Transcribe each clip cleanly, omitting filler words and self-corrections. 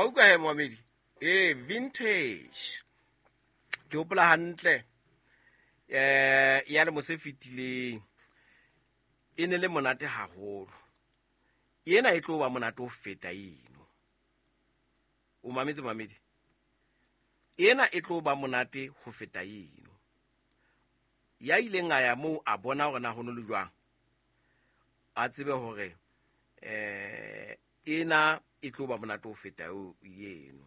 Wa utlwa he momamedi? Ee, vintage. Ke hopola hantle ya lemo se fetileng e ne le monate haholo. Ena e tlo ba monate ho feta eno. O mametse momamedi? Ena e tlo ba monate ho feta eno. Ya ileng a ya moo a bona hore na ho no le jwang, a tsebe hore ena e tlo ba monate ho feta eno.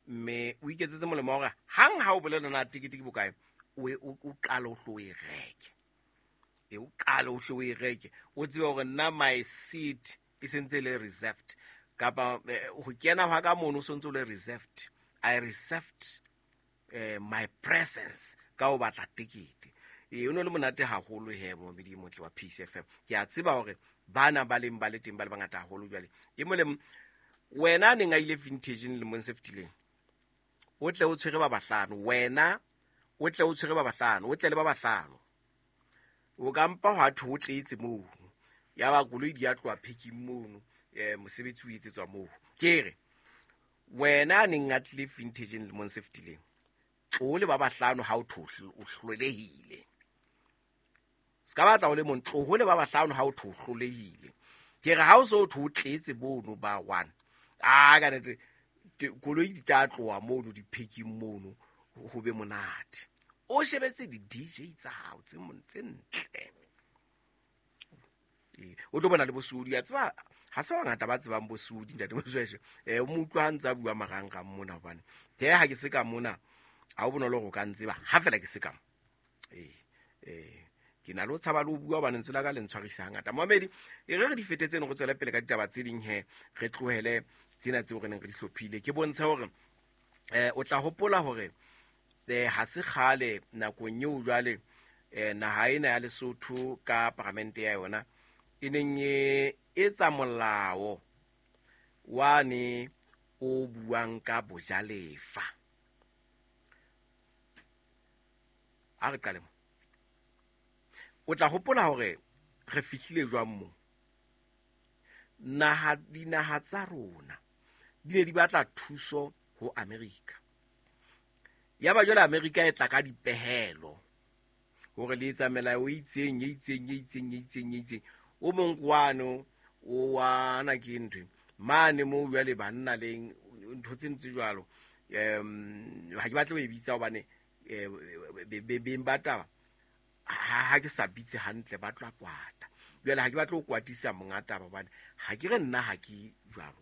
Mme o iketsetse molemo wa hore hang ha o bolela na tekete ke bokae, o qale o hlo o e reke. E o qale o hlo o e reke, o tsebe hore nna my seat e sentse e le reserved, kapa ho kena hwa ka mono o sontse o le reserved. I reserved my presence ka ho batla tekete. E o no le monate haholo he momamedi e motle wa Peace FM. Ke a tseba hore bana ba leng ba le teng ba le bangata haholo jwale. E molemo wena a neng a ile vintage lemong se fetileng, o tle o tshwere ba bahlano, wena o tle o tshwere ba bahlano, o tle le ba bahlano. O ka mpa hwa thwe o tletse moo, ya ba koloi di a tloha packing mono, mosebetsi o etsetswa moo. Ke re wena a neng a tlile vintage lemong se fetileng, tlo le ba bahlano ha o thwe o hlolehile. Se ka batla o le mong, tloho le ba bahlano ha o thwe o hlolehile. Ke re ha o so o thwe o tletse mono ba one, a ka nnete koloi di tla tloha mono di packing mono, ho be monate. O shebetse di DJ tsa hao tse ntle. O tlo bona le bosodi, a tseba ha se ba bangata ba tsebang bosodi ntate Mosweswe. O mo utlwa ha ntse a bua marangrang mona, hobane tjhe ha ke se ka mona ha o bonolo hore o ka ntseba ha fela ke se ka mo. Ke na le ho tshaba le ho bua hobane lentswe la ka le ntshwarisa hangata. Momamedi, e re re di fete tseno, re tswele pele ka ditaba tse ding he, re tlohele tsena tseo re neng re di hlophile. Ke bontshe hore o tla hopola hore ha se kgale nakong eo jwale naha ena ya Lesotho ka paramente ya yona e neng e etsa molao wane o buang ka bojalefa. A re qale mo. O tla hopola hore re fihlile jwang mo. Dinaha tsa rona di ne di batla thuso ho Amerika. Ya ba jwale Amerika e tla ka dipehelo hore le etsa melao e itseng, e itseng, e itseng, e itseng, e itseng. O mong kwano o wa ana ke ntho mane moo jwale banna leng ntho tse ntse jwalo. Ha ke batle ho e bitsa hobane beng ba taba ha ke sa bitse hantle ba tla kwata. Jwale ha ke batle ho kwatisa monga taba hobane ha ke re nna ha ke jwalo,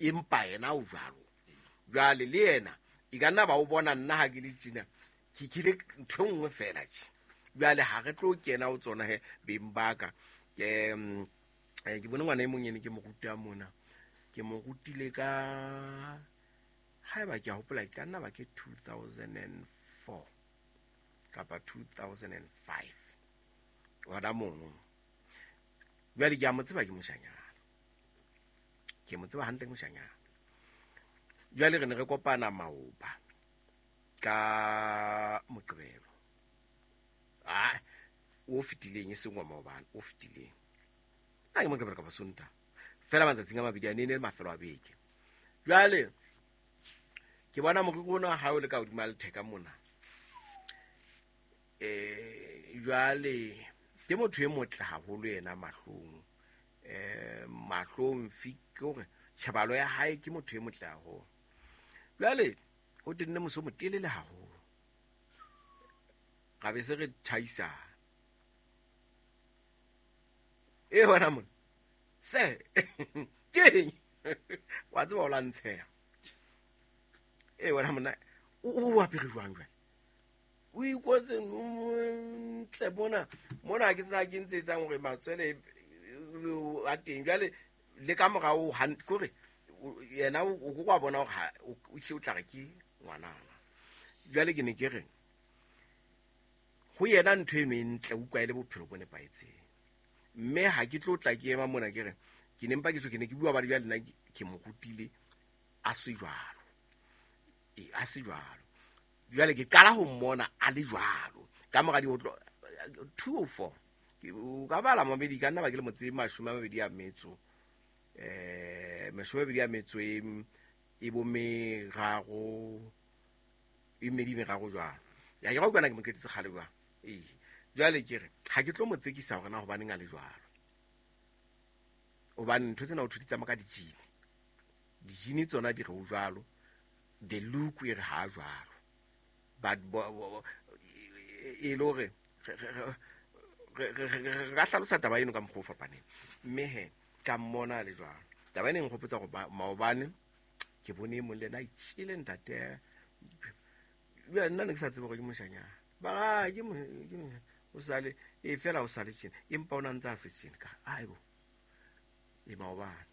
empa yena o jwalo. Jwale le yena e ka nna ba o bona nna ha ke le tjena, ke kile ntho e nngwe fela tje. Jwale ha re tlo kena ho tsona he beng ba ka. Ke bone ngwana e mong ene ke mo ruta mona, ke mo rutile ka haeba ke a hopola ke ka nna ba ke 2004 kapa 2005 hona mono. Jwale ke a mo tseba ke moshanyana, ke mo tseba hantle ke moshanyana. Jwale re ne re kopana maoba ka Moqebelo o fetileng, e seng wa maobane, o fetileng. A ke Moqebelo kapa Sontaha, fela matsatsing a mabedi a ne ne le mafelo a beke. Jwale ke bona moriri ona ha o le ka hodima letheka mona. Jwale ke motho e motle haholo yena mahlong. Mahlong fi ke hore tjhebalo ya hae ke motho e motle haholo. Jwale o tenne mose o motelele haholo. Ra be se re tjhaisana. E wena mona. Se ke eng? Wa tseba o la ntsheha. E wena mona o apere jwang jwale? O ikotse ntle mona. Mona ha ke tsena ke ntse etsang hore matswele a teng. Jwale le ka morao ke hore yena o ko wa bona hore ha o hle o tla re ke ngwanana. Jwale ke ne ke re ho yena ntho eno e ntle, o utlwa e le bophelo bo nepahetseng. Mme ha ke tlo tla ke ema mona ke re ke ne mpa ke tjho, ke ne ke bua ba jwale nna ke mo rutile a se jwalo. A se jwalo. Jwale ke qala ho mmona a le jwalo. Ka mora di ho tlo 204. O ka bala mamedi ka nna ba ke le motse 22 a metso. Mashome a metso e e bo meraro e mmedi meraro jwalo. Ya ke ra utlwana ke mo qetetse kgale jwang. Ee, jwale ke re ha ke tlo mo tsekisa hore na hobaneng a le jwalo, hobane ntho tsena o thwe di tsamaya ka dijini. Dijini tsona di re o jwalo, the look e re ha jwalo, but e le hore re ka hlalosa taba eno ka mokgwa o fapaneng. Mme he ka mmona a le jwalo. Taba ena e nkgopotsa hore maobane ke bone e mong le yena a itjhele ntate. Jwale nna ne ke sa tsebe hore ke moshanyana. Ba re, ke o sale e fela o sale tjena, empa o na ntse a se tjena. Ka aibo, e maobane.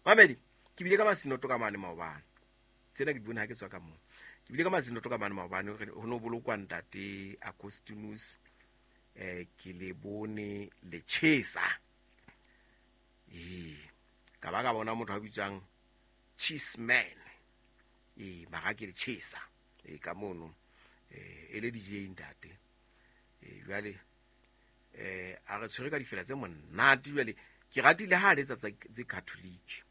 Mamedi, ke bile ka masinoto ka mane maobane. Tsena ke di bone ha ke tswa ka moo. Ke bile ka masinoto ka mane maobane, ho no bolokwa ntate Agostinus, ke le bone le tjhesa. Ee, ka ba ka bona motho a bitswang Cheese Man. Ee, mara ke le tjhesa. Ee, ka mono, e le DJ ntate. Ee, jwale, a re tshwere ka difela tse monate. Jwale ke ratile ha a letsa tse Catholic.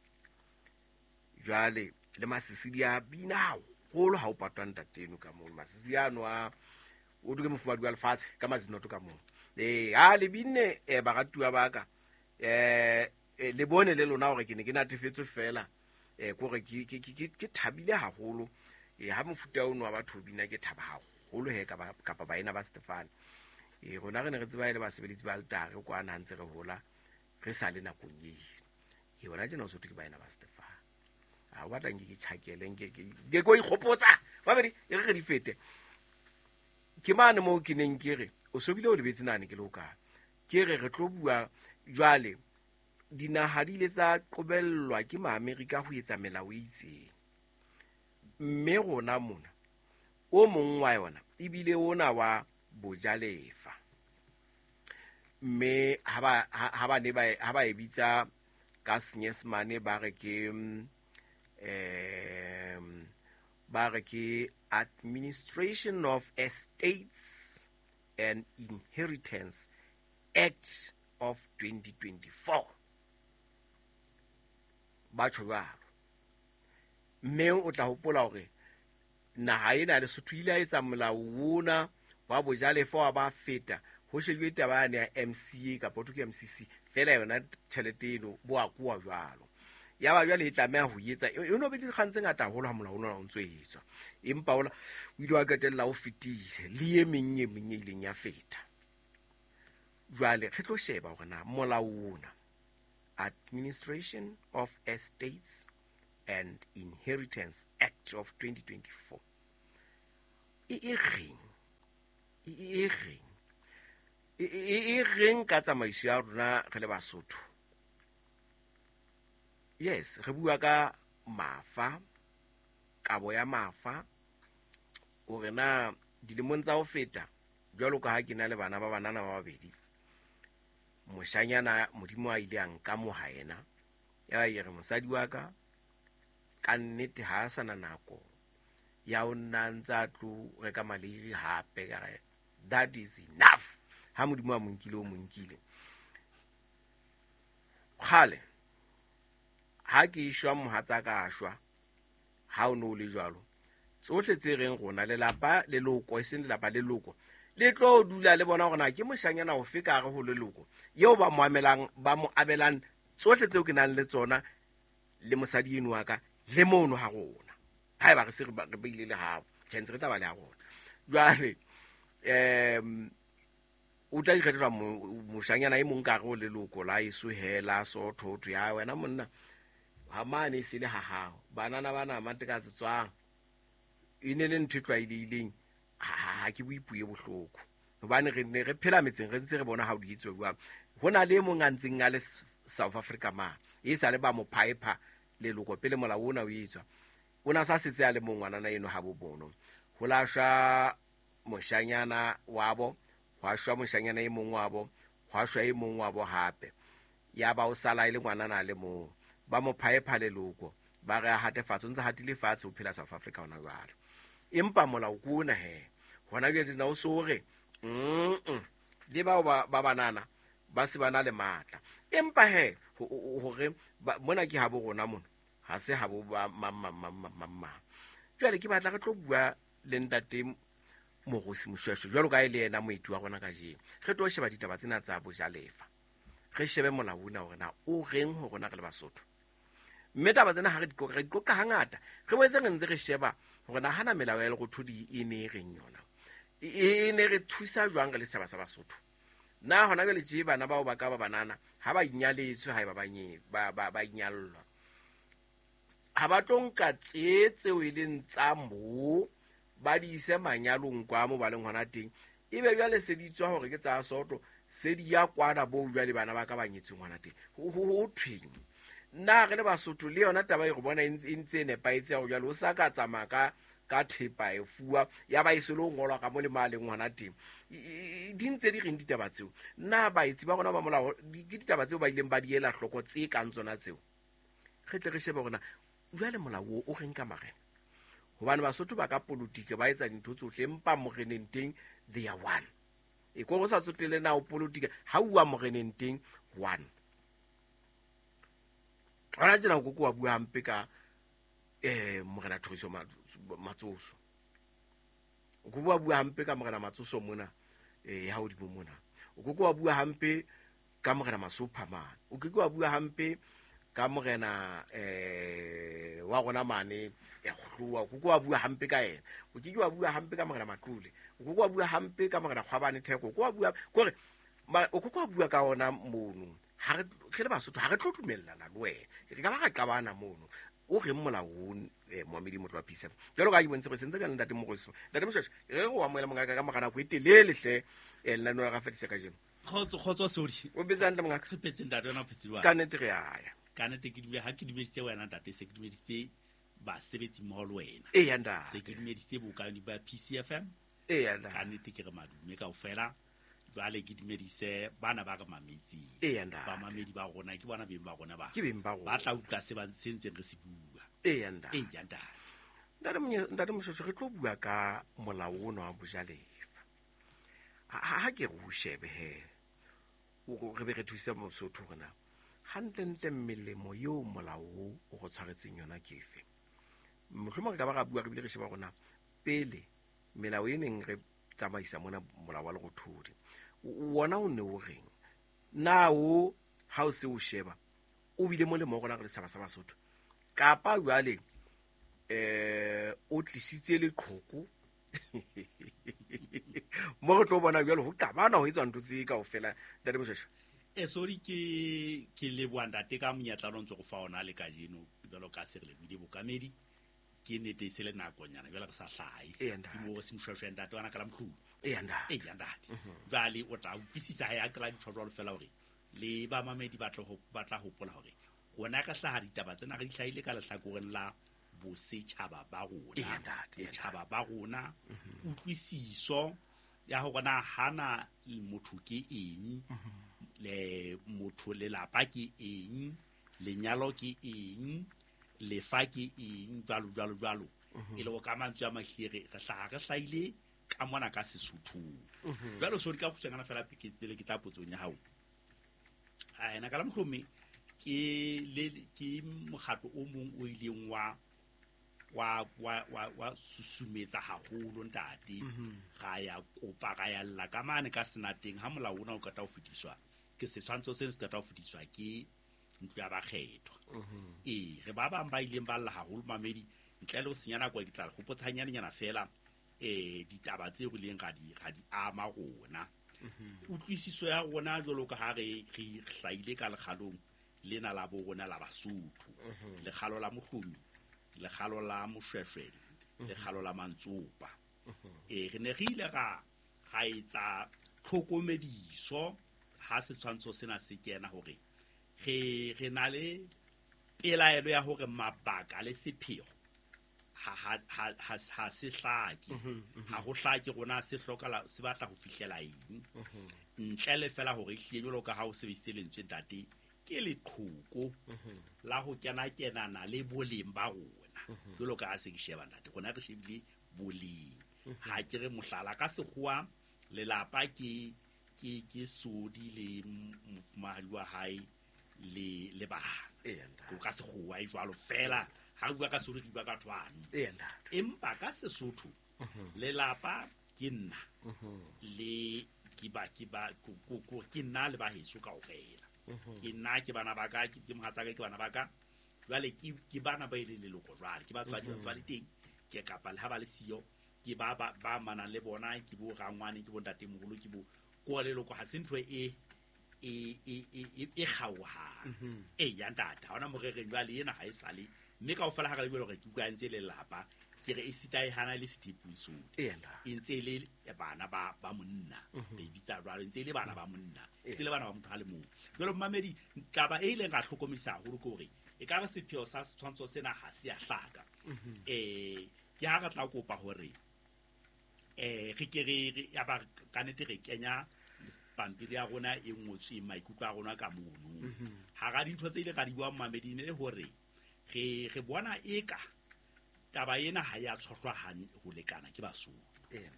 Jwale le masisidi a bina haholo ha o patwa ntate eno ka mono. Masisidi ano a o duke mofumahadi wa lefatshe ka masinoto ka mono. Ee, ha le binne, baratuwa ba ka, le bone le lona hore ke ne ke natefetswe fela, kore ke thabile haholo. Ha mofuta ono wa batho o bina ke thaba haholo he, kapa baena ba Stefane. Rona re ne re tseba e le basebeletsi ba altare kwana ha ntse re hola, re sa le nakong eno. Hona tjena o so thwe ke baena ba Stefane. Ha o batla nke ke tjhakele, nke ke ko ikgopotsa. Babedi, e re re di fete. Ke mane moo ke neng ke re, o so bile o lebetse nane ke le hokae. Ke re re tlo bua jwale, dinaha di ile tsa qobellwa ke Maamerika ho etsa melao e itseng. Mme rona mona, o mong wa yona ebile ona wa bojalefa. Mme ha ba e bitsa ka Senyesemane ba re ke, ba re ke Administration of Estates and Inheritance Act of 2024. Ba tjho jwalo. Mme o tla hopola hore naha ena ya Lesotho ile ya etsa molao ona wa bojalefa wa ba feta, ho shejuwe taba yane ya MCA kapa ho thwe ke MCC, fela yona tjhelete eno bo a kowa jwalo. Ya ba jwale e tlameha ho etsa, e no be le dikgang tse ngata haholo ha molao ona o ntso etswa. Empa ola o ile wa qetella o fetile le e meng e meng e ileng ya feta. Jwale re tlo sheba hore na molao ona, Administration of Estates and Inheritance Act of 2024, e reng? E reng? E reng ka tsamaiso ya rona re le Basotho? Yes, re bua ka mafa, kabo ya mafa, hore na dilemong tsa ho feta, jwalo ka ha ke na le bana ba banana ba babedi, moshanyana Modimo a ile a nkamoha yena, ya ba ke re mosadi wa ka ka nnete ha a sana nako ya ho nna ntse a tlo reka maleiri hape, ka re that is enough. Ha Modimo a mo nkile, o mo nkile. Kgale ha ke shwa mohatsaka a shwa, ha o no le jwalo, tsohle tse reng rona lelapa leloko, e seng lelapa leloko, le tlo dula le bona hore na ke moshanyana ofe ka hare ho leloko eo ba mo amelang, ba mo abelang tsohle tseo ke nang le tsona le mosadi eno wa ka le mono ha rona. Haeba re se re beile le hao, tjhe, ntse re tla ba le ha rona. Jwale, o tla ikgethela moshanyana e mong ka hare ho leloko la eso he, la Sotho, ho thwe, ha wena monna, ha mane e se le ha hao, banana bana matekatse tswang. E ne le ntho e tlwaelehileng, ha ke bue puo e bohloko, hobane re ne re phela metseng, re ntse re bona ha o di etswa jwang. Ho na le e mong a ntseng a le South Africa ma, e sa le ba mo phaepha leloko pele molao ona o etswa. O na sa setse a le mong ngwanana eno ha bo bono. Ho la shwa moshanyana wabo, hwa shwa moshanyana e mong wabo, hwa shwa e mong wabo hape. Ya ba o sala e le ngwanana a le mong. Ba mo phaepha leloko, ba re a hate fatshe, o ntse hatile fatshe ho phela South Africa hona jwale. Empa molao ke ona he. Hona jwale tjena o so re, le bao ba banana ba se ba na le matla. Empa he, Hore mona ke habo rona mona ha se habo ba mang mang mang mang mang mang. Jwale ke batla re tlo bua le ntate Mogosi Moshoeshoe jwalo ka e le yena moeti wa rona kajeno. Re tlo sheba ditaba tsena tsa bojalefa, re shebe molao ona hore na o reng ho rona re le Basotho. Mme taba tsena ha re di qoqa, re di qoqa hangata, re boetse re ntse re sheba hore na hana melao ya lerothodi e ne e reng yona, e ne re thusa jwang re le setjhaba sa Basotho. Na hona jwale tje bana bao ba ka ba banana ha ba inyaletswe, haeba ba nye, ba, ba, ba inyallwa, ha ba tlo nka tse tseo e leng tsa moo ba di ise manyalong kwa mo ba leng hona teng, ebe jwale se di tswa hore ke tsa soto, se di ya kwana bo jwale bana ba ka ba nyetsweng hona teng. Ho thweng? Nna re le Basotho le yona taba e re bona e ntse e nepahetse ya hore jwale o sa ka tsamaya ka thepa e fuwa, ya ba e se le ho ngolwa ka mo le ma leng hona teng. Di ntse di reng ditaba tseo? Na baetsi ba rona ba molao, ke ditaba tseo ba ileng ba di ela hloko tse kang tsona tseo? Re tle re shebe hore na jwale molao o reng ka marena. Hobane Basotho ba ka politiki ba etsa dintho tsohle, empa moreneng teng they are one. E ko go sa tsotele na o politiki, ha ua moreneng teng one. Hona tjena o koko wa bua hampe ka morena Thoriso Matsoso. O koko wa bua hampe ka morena Matsoso mona, ya hodimo mona. O koko wa bua hampe ka morena Masopha mane. O koko wa bua hampe ka morena wa rona mane ya Kgohloa. O koko wa bua hampe ka yena. O keke wa bua hampe ka morena Matlole. O koko wa bua hampe ka morena Kgwabane Theko. O koko wa bua kore o koko wa bua ka ona mono. Ha re le Basotho ha re tlo dumellana le wena. Re ka ba ra qabana mono. O reng molao o, Moamedi Motlo wa PSF. Jwalo ka ha ke bontshitse hore sentse ka le ntate Mogosi. Ntate Moshoeshoe, re re o amohele mongaka ka mora nako e telele hle, lenaneo la Rafetisa kajeno. Kgotso, kgotso, sorry. O phetse hantle mongaka? Re phetse ntate, wena o phetse jwang? Ka nnete re a ya. Ka nnete ke dumela, ha ke dumedisitse wena ntate, se ke dumedisitse basebetsi mmoho le wena. Eya, ntate. Se ke dumedisitse bokani ba PCFM. Eya, ntate. Ka nnete ke re madume kaofela. Jwale ke dumedise bana ba re mametseng. Eya, ntate. Bamamedi ba rona, ke bona beng ba rona ba. Ke beng ba rona. Ba tla utlwa se ba se ntseng re se bua. Eya, ntate. Eya, ntate. Ntate ntate Moshoeshoe, re tlo bua ka molao ona wa bojalefa. Ha ke re o shebe he, re be re thuse Mosotho hore na hantlentle melemo eo molao o o go tshwaretseng yona ke efe. Mohlomong re ka ba ra bua re bile re sheba hore na pele melao e neng re tsamaisa mona molao wa lerothodi, wona o ne o reng? Na o ha o se o sheba o bile molemo ho rona re le setjhaba sa Basotho, kapa jwale o tlisitse leqhoko mo re tlo bona jwale ho qabana ho etswa ntho tse kaofela, ntate Moshoeshoe? Sorry, ke leboha ntate ka monyetla o ntse go fa ona le kajeno, jwalo ka se re lebohile bokamedi. Ke nnete e se le nakonyana jwale re sa hlahe. Eya, ntate. Ke mo se Moshoeshoe ntate wa ka la mohlolo. Eya, ntate. Eya, ntate. Jwale o tla utlwisisa ha ya kry-a dintho jwalo fela hore le bamamedi ba tla hopola hore rona re hlaha ditaba tsena re di hlahile ka lehlakoreng la bosetjhaba ba rona. Eya, ntate, eya, ntate. Botjhaba ba rona, kutlwisiso ya hore na hana motho ke eng, le motho lelapa ke eng, lenyalo ke eng, lefa ke eng, jwalo, jwalo, jwalo. E le ho ka mantswe a mahlile re hlaha re hlahile ka mona ka Sesothong. Jwale sorry ka kgutshwanyana fela pele ke tla potsong ya hao. A ena ka la mohlomong ke mokgatlo o mong o ileng wa susumetsa haholo ntate. Ra ya kopa, ra ya lla ka mane ka senateng ha molao ona o qeta ho fetiswa. Ke setshwantsho seno se qeta ho fetiswa ke ntlo ya bakgethwa. Ee, re ba bang ba ileng ba lla haholo mamedi, ntle le ho senya nako ke tla hopotsa hanyanenyana fela, ditaba tseo re ileng ra di ama rona. Utlwisiso ya rona jwalo ka ha re hlahile ka lekgalong lena la bo rona la Basotho. Lekgalo la Mohlomi, lekgalo la Moshweshwe, lekgalo la Mantsopa. Re ne re ile ra etsa tlhokomediso ha setshwantsho sena se kena hore re na le pelaelo ya hore mabaka le sepheo ha se hlake. Ha ho hlake rona se hlokala, se batla ho fihlela eng. Ntle le fela hore ehlile jwalo ka ha o sebedisitse lentswe ntate, ke leqhoko la ho kena-kenana le boleng ba rona. Jwalo ka ha se ke sheba ntate, rona re shebile boleng. Ha ke re mohlala ka sekgowa, lelapa ke sodi le mofumahadi wa hae le bana. Ko ka sekgowa e jwalo fela ha bua ka Sesotho ke bua ka thwano. Empa ka Sesotho lelapa ke nna le ke ba ke ba ke nna le ba heso kaofela. Ke nna ke bana ba ka, ke mohatsaka, ke bana ba ka. Jwale ke bana ba ile leloko jwale ke batswadi ba le teng, ke kapa le ha ba le siyo ke ba ba manang le bona, ke bo rangwane, ke bo ntatemoholo, ke bo ko leloko. Ha se ntho e kgaohang. Eya ntate, ha hona morereng jwale ena ha e sale mme kaofela ha re le hore ke utlwa ntse lelapa, ke re e sita e hana le setepung sone. E ntse le bana ba monna, re bitsa jwalo, ntse le bana ba monna, ntse le bana ba motho a le mong. Jwale momamedi, taba e ileng ra hlokomedisa haholo ke hore e ka re sepheo sa setshwantsho sena ha se a hlaka. Ke ha re tla kopa hore re ke re ya ba ka nete re kenya pampiri ya rona e ngotsweng maikutlo a rona ka mono. Hara dintho tse ile ra di bua momamedi le hore re bona eka taba ena ha ya tshohlwa ho lekana ke Basotho.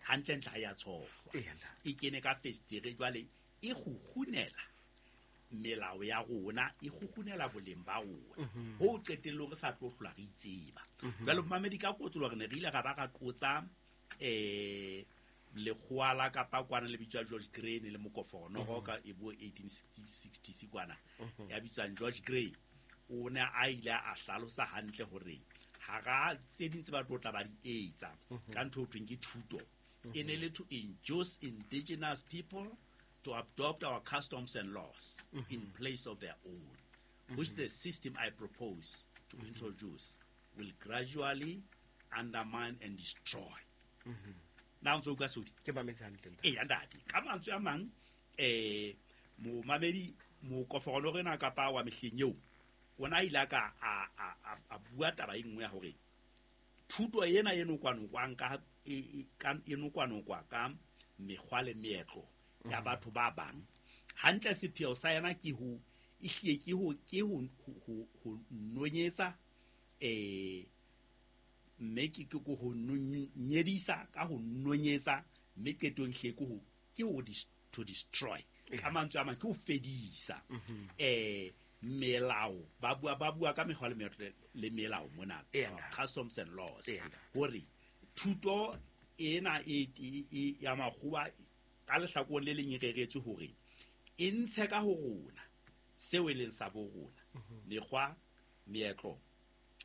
Hantlentle ha ya tshohlwa. E kene ka festere jwale e kgukgunela melao ya rona, e kgukgunela boleng ba rona. Ho qetellong re sa tlo hlola re itseba. Jwale momamedi ka kotlo re ne re ile ra ba ra qotsa lekgowa la kapa kwana le bitswa George Grey le mokofono ka e bo 1860 kwana ya bitswang George Grey. O ne a ile a hlalosa hantle hore hara tse ding tse ba tlo tla ba di etsa ka ntho e thweng ke thuto, e ne le to induce indigenous people to adopt our customs and laws in place of their own, which the system I propose to introduce will gradually undermine and destroy. Na ntse o ka sodi ke mametse hantle. Eya ntate, ka mantswe a mang momamedi mokofono rena kapa wa mehleng eo ona ile ka a bua taba e nngwe ya hore thuto ena e nokwanokwa ka e nokwanokwa ka mekgwa le meetlo ya batho ba bang. Hantle sepheo sa yena ke ho ehlile ke ho nonyetsa mme ke ho nyedisa ka ho nonyetsa, mme qetong hle ke ho to destroy. Ka mantswe a mang ke ho fedisa melao. Ba bua ka mekgwa le melao mona, customs and laws, hore thuto ena e ya makgowa ka lehlakoreng le leng e reretswe hore e ntshe ka ho rona seo e leng sa bo rona, mekgwa, meetlo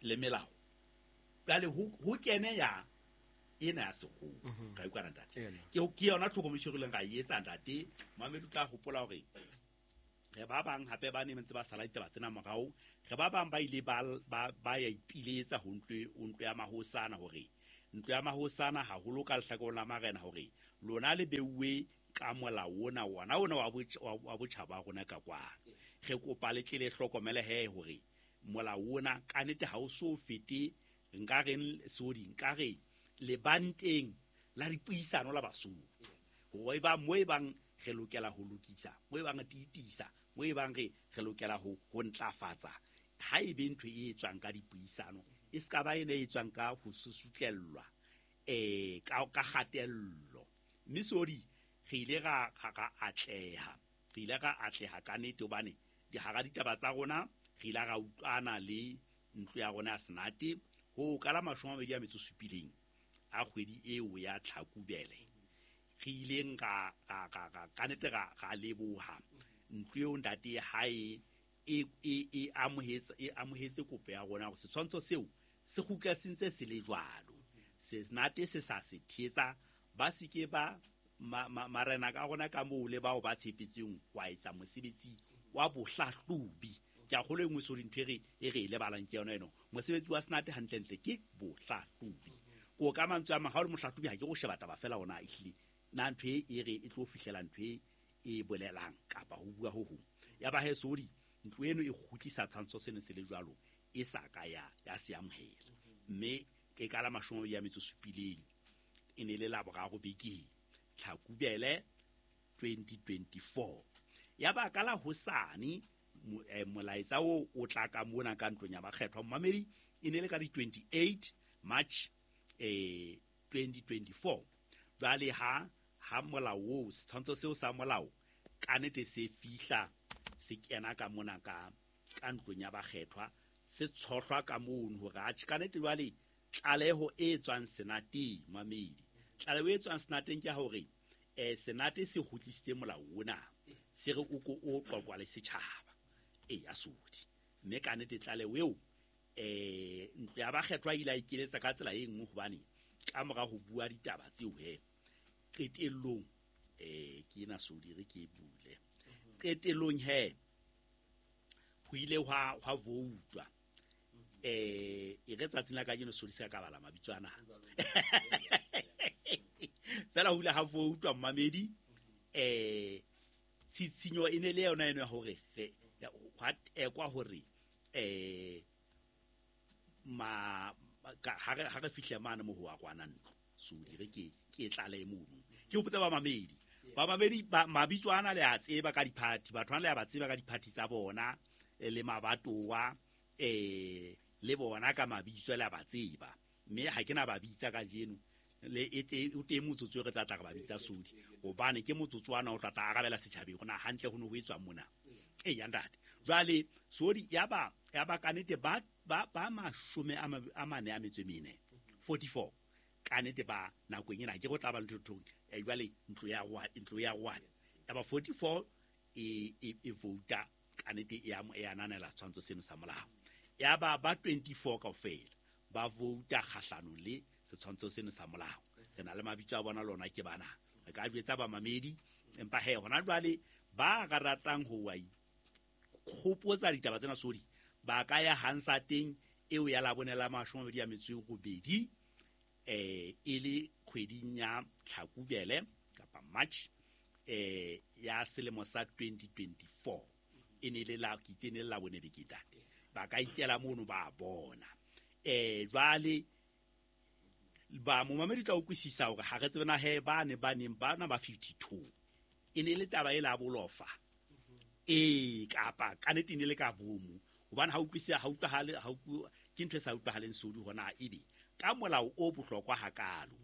le melao. Jwale ho kene ya ena ya sekgowa. Ka utlwa ntate, ke yona tlhokomediso re ileng ra e etsa ntate. Momamedi o tla hopola hore re ba bang hape ba ne ntse ba sala ditaba tsena morao, re ba bang ba ile ba ya ipiletsa ho ntlo ya mahosana, hore ntlo ya mahosana haholo ka lehlakoreng la marena, hore lona le beuwe ka molao ona wona wa botjhaba rona ka kwa. Re kopa le tle le hlokomele he hore molao ona ka nete ha o so fete, nka reng sodi, nka re lebanteng la dipuisano la Basotho, hore ba mo e bang re lokela ho lokisa, mo e bang re tiisa, mo e bang re lokela ho ntlafatsa. Ha e be ntho e etswang ka dipuisano, e ska ba ene e etswang ka ho susutlellwa ka kgatello. Mme sodi re ile ra atleha, re ile ra atleha ka nete, hobane dihara ditaba tsa rona re ile ra utlwana le ntlo ya rona ya Senate ho ka la 27 a kgwedi eo ya Tlhakubele. Re ileng ra ka nete ra leboha ntlo eo ntate hae e amohetse kopo ya rona hore setshwantsho seo se kgutla se ntse se le jwalo. Senate se sa se thetsa, ba se ke ba marena ka rona ka moo le bao ba tshepetsweng wa etsa mosebetsi wa bohlahlobi. Ke a kgolwa e nngwe sori ntho e re e lebalang ke yona eno. Mosebetsi wa Senate hantlentle ke bohlahlobi. Ko ka mantswe a mang, ha o le mohlahlobi ha ke go sheba taba fela ona ehlile na ntho e re e tlo fihlela ntho e bolelang kapa ho bua ho hong. Ya ba he sori ntlo eno e kgutlisa tshwantsho seno se le jwalo, e sa ka ya se amohela. Mme ke ka la 27 e ne le la boraro bekeng Tlhakubele 2024. Ya ba ka la hosane molaetsa o tla ka mona ka ntlong ya bakgethwa momamedi, e ne le ka di 28 March 2024. Jwale ha molao oo, setshwantsho seo sa molao ka nete se fihla se kena ka mona ka ka ntlong ya bakgethwa se tshohlwa ka mono hore atjhe ka nnete jwale tlaleho e tswang senateng mamedi tlaleho e tswang senateng ke ya hore senate se kgutlisitse molao ona se re o ko o qoqwa le setjhaba e ya sodi mme ka nnete tlaleho eo ntlo ya bakgethwa ile a ikeletsa ka tsela e nngwe hobane ka mora ho bua ditaba tseo he qetellong ke ena sodi re ke e bule qetellong he ho ile hwa voutwa e re tsatsing la kajeno sodi se ka bala mabitso ana fela ho ile ha voutwa mmamedi tshitshinyo e ne le yona eno ya hore hwa tekwa hore ma ha re fihle mane mo ho wa kwana ntlo sodi re ke tlale mono ke hopotse ba mamedi ba mabitso ana le a tseba ka diphathi batho bana le a ba tseba ka diphathi tsa bona le mabatowa le bona ka mabitso le a ba tseba mme ha ke na ba bitsa kajeno le o teng motsotso re tla tla re ba bitsa sodi hobane ke motsotso wa na o tla tla arabela setjhabeng hore na hantle ho ne ho etswang mona ya ntate jwale sodi ya ba ka nnete ba 44 44 ka nnete ba nakong ena ke go tla ba ntho jwale ntlo ya rwana ya ba 44 e vouta ka nnete e ananela setshwantsho seno sa molao ya ba 24 kaofela ba vouta kgahlanong le setshwantsho seno sa molao re na le mabitso a bona lona ke bana re ka jwetsa ba mamedi empa he hona jwale ba ka ratang ho wa ikgopotsa ditaba tsena sodi ba ka ya Hansa teng eo ya Labone la 28 e le kgweding ya Tlhakubele kapa March ya selemo sa 2024 e ne le la kitse ne la bone beketate ba ka ikela mono ba bona jwale ba momamedi tla utlwisisa hore ha re tsebe na he ba ne ba neng ba na ba 52 e ne le taba e la bolofa kapa ka nnete ne le ka bomo hobane ha utlwisisa ha utlwahale ha ke ntho e sa utlwahaleng sodi hona ebe ka molao o bohlokwa hakalo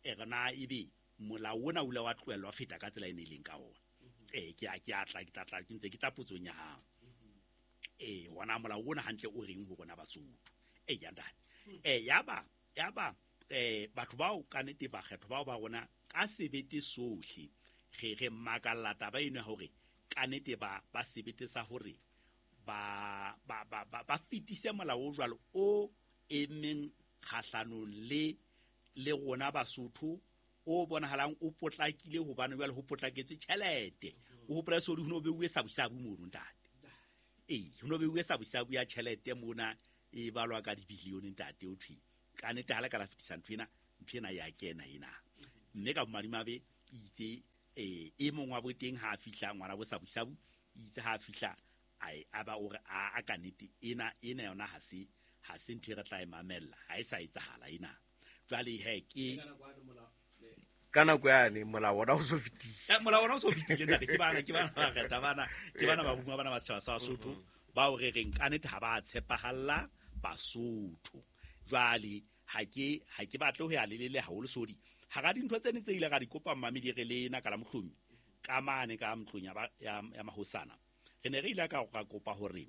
re na ebe molao ona o ile wa tlohellwa feta ka tsela e ne leng ka ona ke a tla ke tla ke ntse ke tla potsong ya hao hona molao ona hantle o reng ho rona Basotho ya ntate yaba batho bao ka nnete bakgetho bao ba rona ka sebete sohle re makalla taba eno ya hore ka nnete ba sebete sa hore ba fetise molao o jwalo o emeng kgahlanong le rona Basotho o bonahalang o potlakile hobane jwale ho potlaketswe tjhelete o hopola sodi ho no beuwe sabusabu mono ntate ho no beuwe sabusabu ya tjhelete mona e balwa ka dibilione ntate o thwe ka nnete ha le ka la fetisa ntho ena ya kena ena mme ka bomadimabe itse e mong wa boteng ha fihla ngwana bo sabusabu itse ha fihla a ba o re a ka nnete ena yona ha se ntho e re tla e mamella ha e sa etsahala ena jwale he ke ka nako yane molao ona o so fetile molao ona o so fetile ntate ke bana ba reta bana ke bana ba bua bana ba setjhaba sa Basotho bao re reng ka nnete ha ba tshepahalla Basotho jwale ha ke batle ho ya lelele haholo sodi hara dintho tse ne tse ile ra di kopa mmamedi re le ena ka la mohlomi ka mane ka ntlong ya mahosana re ne re ile ka kopa hore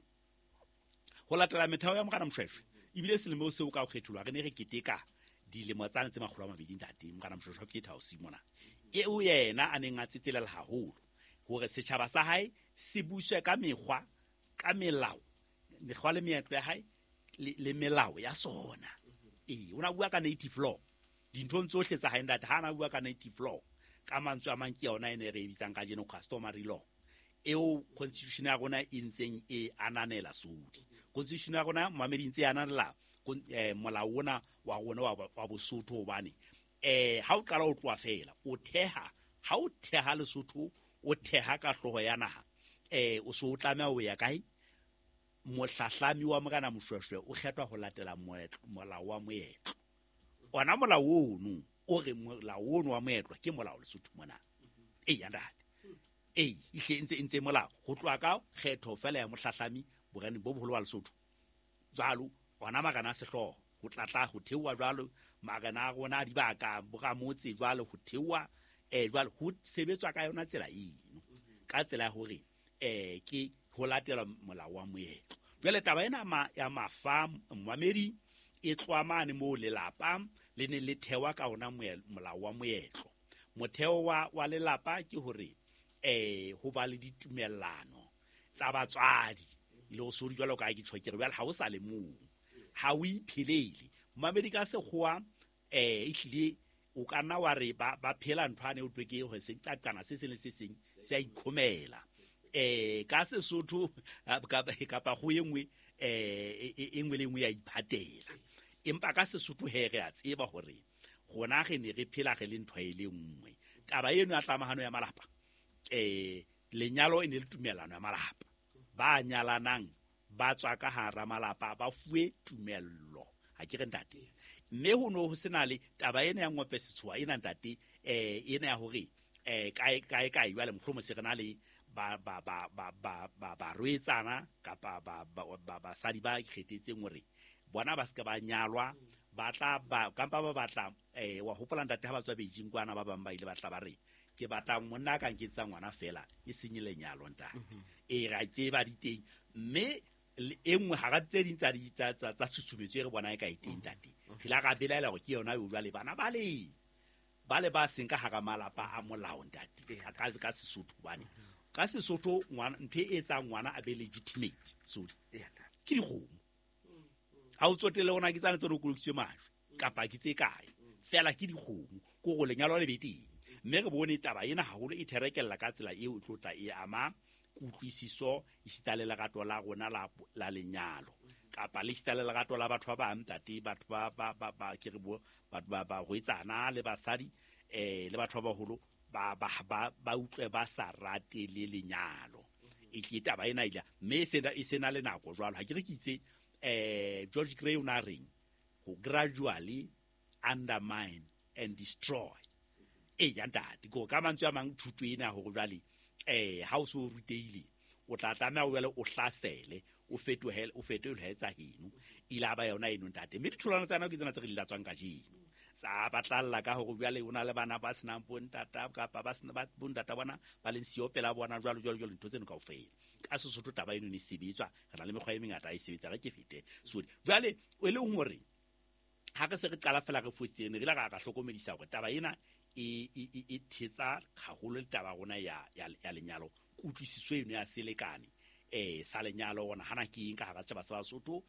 ho latela metheo ya Morena Moshoeshoe ebile selemo seo ka ho kgetholwa re ne re keteka dilemo tsane tse 200 ntate Morena Moshoeshoe ke thaosi mona eo yena a neng a tsetselela haholo hore setjhaba sa hae se buswe ka mekgwa ka melao mekgwa le meetlo ya hae le melao ya sona o na bua ka native law dinthong tsohle tsa hae ntate ha na bua ka native law ka mantswe a mang ke yona e ne re e bitsang kajeno customary law eo constitution ya rona e ntseng e ananela sodi constitution ya rona mamedi ntse e ananela molao ona wa rona wa Bosotho hobane ha o qala o tloha fela o theha ha o theha Lesotho o theha ka hlooho ya naha o so o tlameha ho ya kae mohlahlami wa Morena Moshoeshoe o kgethwa ho latela molao wa moetlo ona molao ono o re molao ono wa moetlo ke molao Lesotho mona ya ntate ehle ntse molao ho tloha ka kgetho fela ya mohlahlami boreneng bo boholo wa Lesotho jwalo ona marena a sehlooho ho tlatla ho theoha jwalo marena a rona a dibaka boramotse jwalo ho theoha jwalo ho sebetswa ka yona tsela eno ka tsela ya hore ke ho latela molao wa moetlo Jwale taba ena ya mafa momamedi e tloha mane moo lelapa le ne le thewa ka ona molao wa moetlo. Motheo wa lelapa ke hore ho ba le ditumellano tsa batswadi le ho sodi jwalo ka ke tjho ke re jwale ha o sa le mong, ha o iphelele. Momamedi ka sekgowa ehlile o ka nna wa re ba phela ntho ane o thwe ke hore se qaqana se seng le se seng se a ikhomela. Ka Sesotho kapa go e nngwe e nngwe le nngwe ya iphatela. Empa ka Sesotho he re a tseba hore rona re ne re phela re le ntho e le nngwe. Taba eno ya tlamahano ya malapa, lenyalo e ne le tumellano ya malapa. Ba nyalanang ba tswa ka hara malapa ba fuwe tumello. Ha ke re ntate. Mme ho no ho sena le taba ena ya ngope setshoa ena ntate, ena ya hore kae kae kae jwale mohlomong se re na le ba ba ba ba ba ba barwetsana kapa ba ba basadi ba ikgethetseng hore bona ba se ba nyalwa, ba tla ba kampa ba batla wa hopola ntate ha ba tswa Beijing kwana ba bang ba ile ba tla ba re ke batla monna ka nketsa ngwana fela e senye lenyalo ntate. Ra tseba di teng mme e nngwe hara tse ding tsa tsa tshusumetso e re bona e ka e teng ntate. Re la ra belaela hore ke yona eo jwale bana ba le ba seng ka hara malapa a molao ntate. Ka Sesotho hobane ka Sesotho ngwana ntho e etsang ngwana a be legitimate so ke dikgomo. Ha o tsotelle hore na ke tsane tse re kolokisitswe majwe kapa ke tse kae, fela ke dikgomo ko go lenyalo le be teng. Mme re bone taba ena haholo e therekella ka tsela eo e tlo tla e ama kutlwisiso esita le lerato la rona la lenyalo kapa le esita le lerato la batho ba bang ntate, batho ba ba ba ba ke re bo batho ba ba rwetsana le basadi le batho ba baholo ba ba ba ba utlwe ba sa rate le lenyalo. E ke taba ena ile mme e sena le nako jwalo. Ha ke re ke itse George Grey o na reng ho gradually undermine and destroy. Ya ntate ko ka mantswe a mang thuto ena hore jwale ha o so ruteile o tla tlameha o jwale o hlasele o fetohele tsa heno ila ba yona eno ntate. Mme ditholwana tsana ke tsena tse re di latswang kajeno tsa batlalla ka hore jwale o na le bana ba senang bontata kapa ba sena bontata bona ba leng siyo pela bona jwalo jwalo jwalo ntho tseno kaofela. Ka Sesotho taba eno ne sebetswa re na le mekgwa e mengata e sebetsa re ke fete. So jwale e le hore ha re se re qala fela re fositse ne re la ra hlokomedisa hore taba ena e thetsa haholo le taba rona ya lenyalo, kutlwisiso eno ya selekane sa lenyalo ona hana ke eng ka hara setjhaba sa Basotho,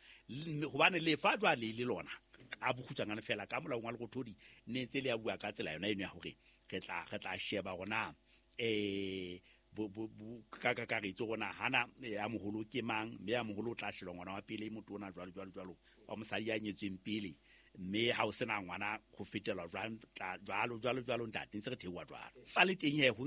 hobane lefa jwale le lona ka bokgutshwanyane fela ka molaong wa Lerothodi ne ntse le ya bua ka tsela yona eno ya hore re tla sheba rona ka kakaretso rona hana ya moholo ke mang, mme ya moholo o tla sheba ngwana wa pele motona jwalo jwalo jwalo wa mosadi ya nyetsweng pele, mme ha o sena ngwana ho fetelwa jwalo jwalo jwalo ntate ntse re theoha jwalo. Fa le teng he ho